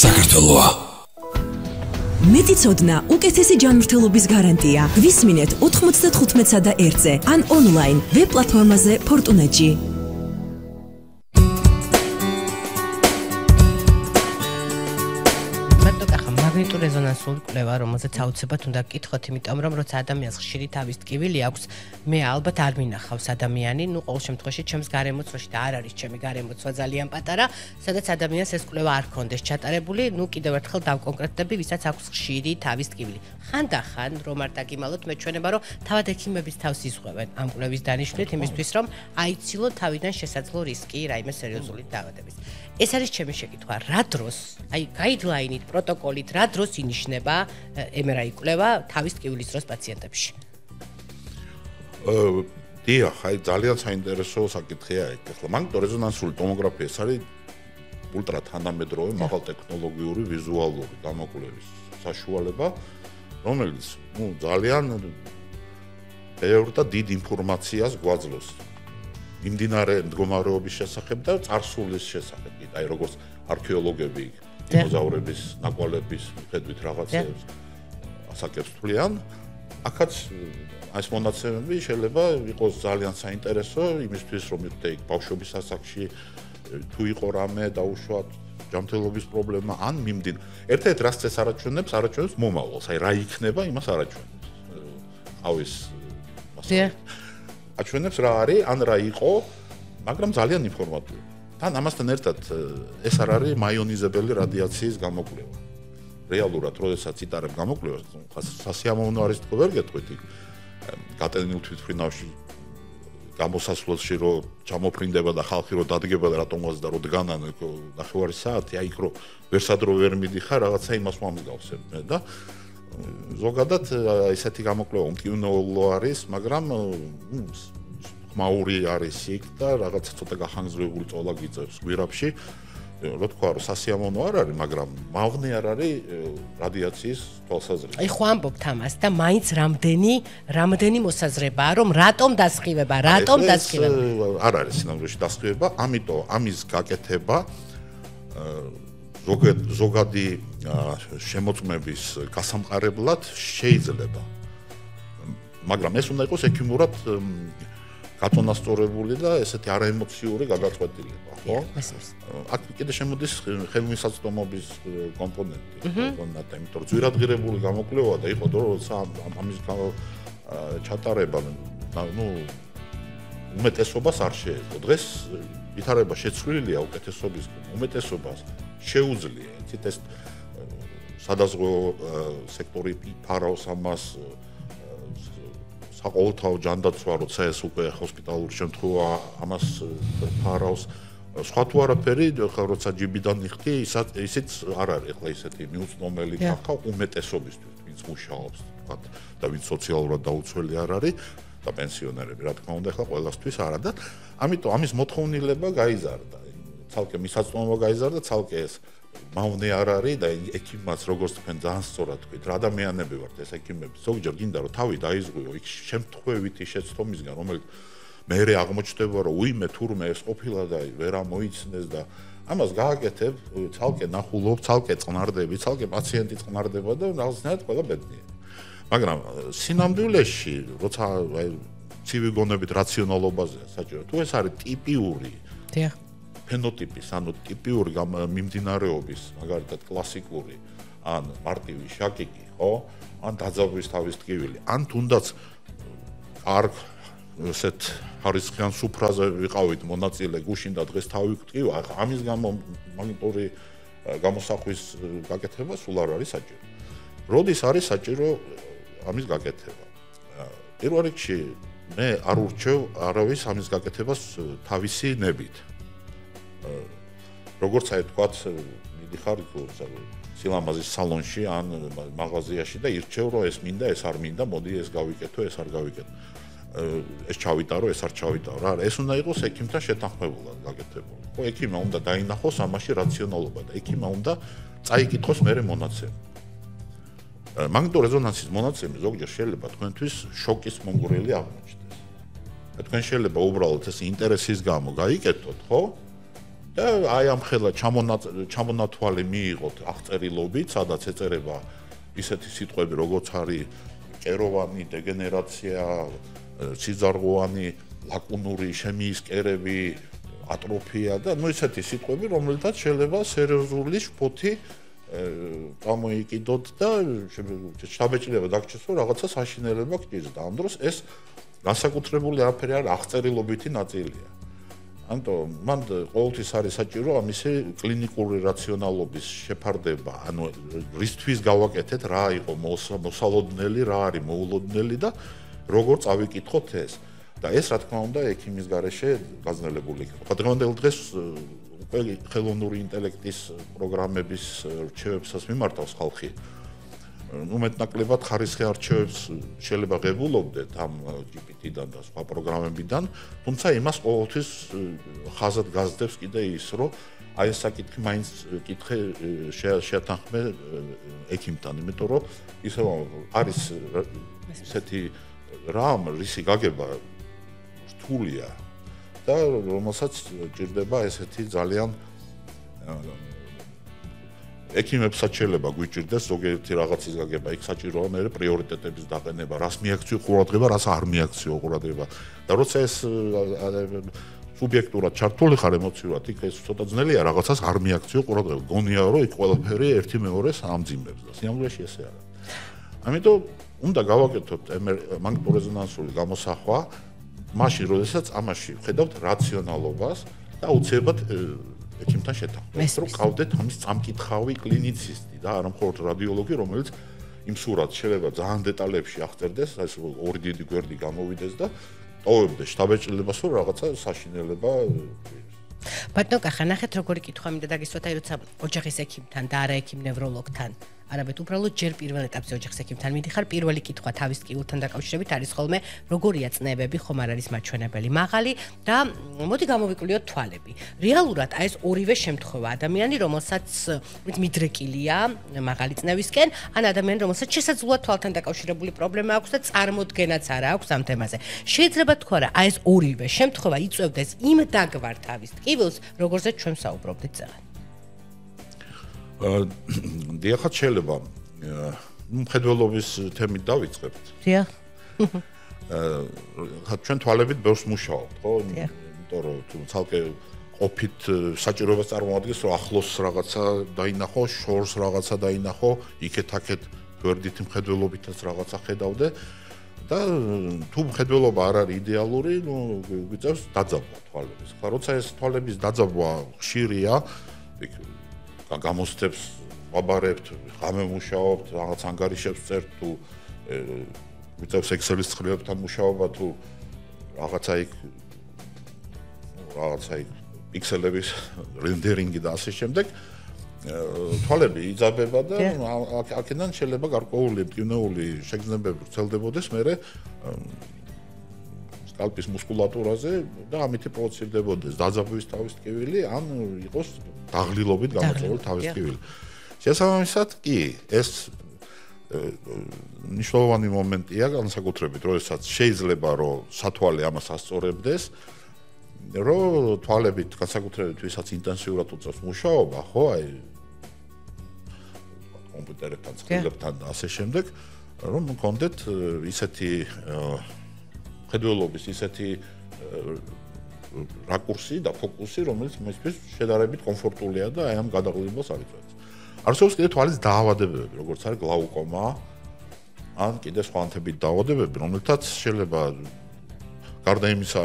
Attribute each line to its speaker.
Speaker 1: საქართველოა.
Speaker 2: მეტიცოდნა უკეთესი ჯანმრთელობის გარანტია. გვისმინეთ 95-ზე და 1-ზე ან ონლაინ ვებ პლატფორმაზე Fortunet-ში.
Speaker 3: მაგნიტურ რეზონანსულ კვლევა, რომელზეც აუცილებლად უნდა გკითხოთ, იმიტომ რომ როცა ადამიანს ხშირი თავის ტკივილი აქვს, მე ალბათ არ მინახავს ადამიანი, ყოველ შემთხვევაში ჩემს გარემოცვაში და არ არის ჩემი გარემოცვა ძალიან პატარა, სადაც ადამიანს ეს კვლევა არ ქონდეს ჩატარებული, კიდევ ერთხელ დავკონკრეტდები, ვისაც აქვს ხშირი თავის ტკივილი. ხანდახან რომ არ დაგიმალოთ, მეჩვენება, რომ თავად ექიმების თავს იზღვევენ ამ კვლევის დანიშვნით, იმისთვის რომ აიცილოთ თავიდან შესაძლო რისკი რაიმე სერიოზული დაავადების. ეს არის ჩემი შეკითხვა, რა დროს, აი გაიდლაინით, პროტოკოლით, რა დროს ინიშნება MRI კვლევა თავის ტკივილის დროს პაციენტებში?
Speaker 4: დიახ, აი ძალიან საინტერესო საკითხია ეგ. ახლა მაგნიტურ რეზონანსული ტომოგრაფია ეს არის ულტრათანდამედროვე მაღალტექნოლოგიური ვიზუალური გამოკვლევის საშუალება, რომელიც ძალიან ბევრ და დიდ ინფორმაციას გვაძლევს მიმდინარე მდგომარეობის შესახებ და წარსულის შესახებ. აი როგორც არქეოლოგები დინოზავრების ნაკვალების მიხედვით რაღაცებს ასაკებს თვლიან, აქაც ეს მონაცემები შეიძლება იყოს ძალიან საინტერესო იმისთვის, რომ იქ ბავშვობის ასაკში თუ იყო რამე დაუშვათ ჯანმრთელობის პრობლემა ან ერთ-ერთ რაც ეს არაჩვენებს მომავალს, აი რა იქნება, იმას არაჩვენებს. ყავის აჩვენებს რა არის, ან რა იყო, მაგრამ ძალიან ინფორმატიული. თან ამასთან ერთად ეს არ არის მაიონიზებელი რადიაციის გამოკვლევა. რეალურად, როდესაც იტარებ გამოკვლევას, სასიამოვნო არის თქო ვერ გეტყვით იქ გატენილ თვითმფრინავში გამოსასვლელში რომ ჩამოფრინდება და ხალხი რომ დადგება და რატომაც და რომ დგანან ნახევარი საათი, აი იქ რომ ვერსადრო ვერ მიდიხარ, რაღაცა იმას მომსგავსებ მე და ზოგადად ესეთი გამოკვლევა უმტკივნეულო არის, მაგრამ მაური არის იქ და რაღაცა ცოტა გახანგრძლივებული წოლა გიწევს გვირაბში. რა თქვა, რომ სასიამოვნო არ არის, მაგრამ მავნე არ არის რადიაციის თვალსაზრისით.
Speaker 3: აი ხო ამბობთ ამას და მაინც რამდენი მოსაზრებაა, რომ რატომ დასხივება?
Speaker 4: არ არის სინამდვილეში დასხივება, ამიტომ ამის გაკეთება ზოგადი შემოწმების გასამყარებლად შეიძლება. მაგრამ ეს უნდა იყოს ექიმურად გაწონასწორებული და ესეთი არაემოციური გადაწყვეტილება, ხო? აქ კიდე შემოდის ხელმისაწვდომობის კომპონენტი, იმიტომ რომ ძვირადღირებული გამოკვლევა და იყო როცა ამის ჩატარება, უმეტესობას არ შეეძლო. დღეს ვითარება შეცვლილია უკეთესობის უმეტესობას შეუძლია, იცით ეს სადაზღვევო სექტორი ფარავს ამას საყოველთაო ჯანდაცვა, როცა ეს უკვე ჰოსპიტალური შემთხვევა ამას ფარავს. სხვა თუ არაფერი, როცა ჯიბიდან ნიხდი, ისიც არ არის ახლა ისეთი მიუწვდომელი ფაქტორი უმეტესობისთვის, ვინც მუშაობს, თქვათ, და ვინც სოციალურად დაუცველი არ არის და პენსიონერები, რა თქმა უნდა, ახლა ყველასთვის არა და ამიტომ ამის მოთხოვნილება გაიზარდა. ცალკე მისაწვდომობა გაიზარდა, ცალკე ეს მავნე არ არის და ექიმაც როგორც თქვენ ძალიან სწორად თქვით, რა ადამიანები ვართ ეს ექიმები, ზოგჯერ გინდა რომ თავი დაიზღვიო იქ შემთხვევითი შეცდომისგან, რომელიც მერე აღმოჩნდება რომ უიმე თურმე ეს ყოფილა და ვერ ამოიცნეს და ამას გააკეთებ, ცალკე ნახულობ, ცალკე წყნარდები, ცალკე პაციენტი წყნარდება და რაღაცნაირად ყველა ბედნიერი. მაგრამ სინამდვილეში, როცა ცივი გონებით რაციონალობაზეა საჭირო, თუ ეს არის ტიპიური ფენოტიპის, ანუ ტიპიური მიმდინარეობის, მაგალითად კლასიკური, ან მარტივი შაკიკი, ხო? ან დაძაბვის თავის ტკივილი, ან თუნდაც კარგ ესეთ ხარისხიან სუფრაზე ვიყავით მონაწილე, გუშინ და დღეს თავი ვტკივა, ამის გამო მაგნიტური გამოსახვის გაკეთება სულ არ არის საჭირო. როდის არის საჭირო ამის გაკეთება? პირველ რიგში მე არ ურჩევ არავის ამის გაკეთებას თავისი ნებით. როგორც აი თქვათ, მიდიხარ სილამაზის სალონში ან მაღაზიაში და ირჩევ რომ ეს მინდა, ეს არ მინდა, მოდი ეს გავიკეთო, ეს არ გავიკეთო. ეს ჩავიტარო, ეს არ ჩავიტარო. რა, ეს უნდა იყოს ექიმთან შეთანხმებულად გაკეთებული. ხო, ექიმმა უნდა დაინახოს ამაში რაციონალობა და ექიმმა უნდა წაიკითხოს მერე მონაცემი. მაგნიტურ რეზონანსის მონაცემი ზოგჯერ შეიძლება თქვენთვის შოკის მომგვრელი აღმოჩნდეს. და თქვენ შეიძლება უბრალოდ ეს ინტერესის გამო გაიკეთოთ, ხო? და აი ამ ხელა ჩამონათვალი მიიღოთ აღწერილობით, სადაც ეწერება ისეთი სიტყვები, როგორც არის კეროვანი, დეგენერაცია, სიძარღვოვანი, ლაკუნური შემიისკერები, ატროფია და ისეთი სიტყვები, რომელთაც შეიძლება სერიოზული შფოთი გამოიკიდოთ და შთაბეჭდილება დაგჭირს, რომ რაღაცა საშინელება გჭირს და ამ დროს ეს განსაკუთრებული არაფერი არ აღწერილობითი ნაწილია. Ამიტომ მან ყოველთვის არის საჭირო ამისი კლინიკური რაციონალობის შეფარდება, ანუ რისთვის გავაკეთეთ, რა იყო მოსალოდნელი, რა არის მოულოდნელი და როგორ წავიკითხოთ ეს. და ეს რა თქმა უნდა ექიმის გარეშე გაძლიერებული იქნება. დღევანდელ დღეს უკვე ხელოვნური ინტელექტის პროგრამების რჩევებსაც მიმართავს ხალხი. მეტნაკლებად ხარისხი არჩევებს შეიძლება ღებულობდეთ ამ GPT-დან და სხვა პროგრამებიდან, თუმცა იმას ყოველთვის ხაზად გაზდებს კიდე ის, რომ აი ეს საკითხი მაინც კითხე შეათანხმე ექიმთან, იმიტომ რომ ისევ არის ესეთი რამ რისი გაგება რთულია და რომელსაც ჭირდება ესეთი ძალიან ექიმებსაც შეიძლება გვიჭირდეს ზოგიერთი რაღაცის გაგება, იქ საჭიროა მე პრიორიტეტების დაყენება, რას მიაქციო ყურადღება, რას არ მიაქციო ყურადღება. და როცა ეს სუბიექტურად ჩართული ხარ ემოციურად, იქ ეს ცოტა ძნელია რაღაცას არ მიაქციო ყურადღება. გონია რომ იქ ყველაფერი ერთი მეორეს ამძიმებს და სიამოვნებაში ესე არა. ამიტომ უნდა გავაკეთოთ მაგნიტურეზონანსული გამოსახვა, მაშინ როდესაც ამაში ვხედავთ რაციონალობას და აუცილებლად ექიმთან შეთანხმებით, რომ ყავდეთ ამის წამკითხავი კლინიცისტი და არა მხოლოდ რადიოლოგი, რომელიც იმ სურათს შეიძლება ძალიან დეტალებში აღწერდეს, ეს ორი დიდი გვერდი გამოვიდეს და ტოვებდეს შთაბეჭდილებას, რომ რაღაცა საშინელება
Speaker 3: ბატონო კახა, ნახეთ როგორი კითხვა მინდა დაგისვათ, აი როცა ოჯახის ექიმთან და არა ექიმ ნევროლოგთან არამედ უბრალოდ ჯერ პირველ ეტაპზე ოჯახის ექიმთან მიდიხარ, პირველი კითხვა თავის ტკივილთან დაკავშირებით არის ხოლმე როგორია წნევები, ხომ არ არის მაჩვენებელი მაღალი და მოდი გამოვიკვლიოთ თვალები. რეალურად აი ეს ორივე შემთხვევა ადამიანი, რომელსაც მიდრეკილია მაღალი წნევისკენ, ან ადამიანი, რომელსაც შესაძლოა თვალთან დაკავშირებული პრობლემა აქვს და წარმოდგენაც არა აქვს ამ თემაზე. შეიძლება თქვა რა, აი ეს ორივე შემთხვევა იწვევდეს იმ დაგვარ თავის ტკივილს, როგორზეც ჩვენ საუბრობდით წეგან.
Speaker 4: დიახაც შეიძლება მხედველობის თემით დავიწყებთ.
Speaker 3: დიახ.
Speaker 4: ჩვენ თვალებით ბევრს მუშაობთ, ხო? იმიტომ რომ თუ ცალკე ყოფით საჭიროებას წარმოადგენს, რომ ახლოს რაღაცა დაინახო, შორს რაღაცა დაინახო, იქეთ-აქეთ გვერდით მხედველობითაც რაღაცა ხედავდე და თუ მხედველობა არ არის იდეალური, ნუ გვიწევს დაძაბვა თვალების. ხა როცა ეს თვალების დაძაბვა ხშირია, გამოსცემს ვაბარებთ, ღამე მუშაობთ, რაღაც ანგარიშებს წერთ თუ გვიწევს Excel-ის ცხრილებთან მუშაობა თუ რაღაცა იქ პიქსელების რენდერინგი და ასე შემდეგ თვალები იძაბება და აქედან შეიძლება გარკვეული მტკივნეული შეგრძნებები ვრცელდებოდეს მერე სკალპის მუსკულატურაზე და ამით პროვოცირდებოდეს დაძაბვის თავის ტკივილი ან იყოს დაღლილობით გამოწვეული თავის ტკივილი. შესაბამისად კი ეს მნიშვნელოვანი მომენტია განსაკუთრებით, როდესაც შეიძლება რომ სათვალე ამას ასწორებდეს, რომ თვალებით განსაკუთრებით ვისაც ინტენსიურად უწევს მუშაობა, ხო, აი კომპიუტერებთან, ცხრილებთან და ასე შემდეგ, რომ მქონდეთ ისეთი ხედველობის ისეთი რაკურსი და ფოკუსი, რომელიც მისთვის შედარებით კომფორტულია და აი ამ გადაღლილებას არ იწვევს. არსებობს კიდე თვალის დაავადებები, როგორც არის გლაუკომა, ან კიდე სხვა ანთებით დაავადებები, რომელთაც შეიძლება გარდა იმისა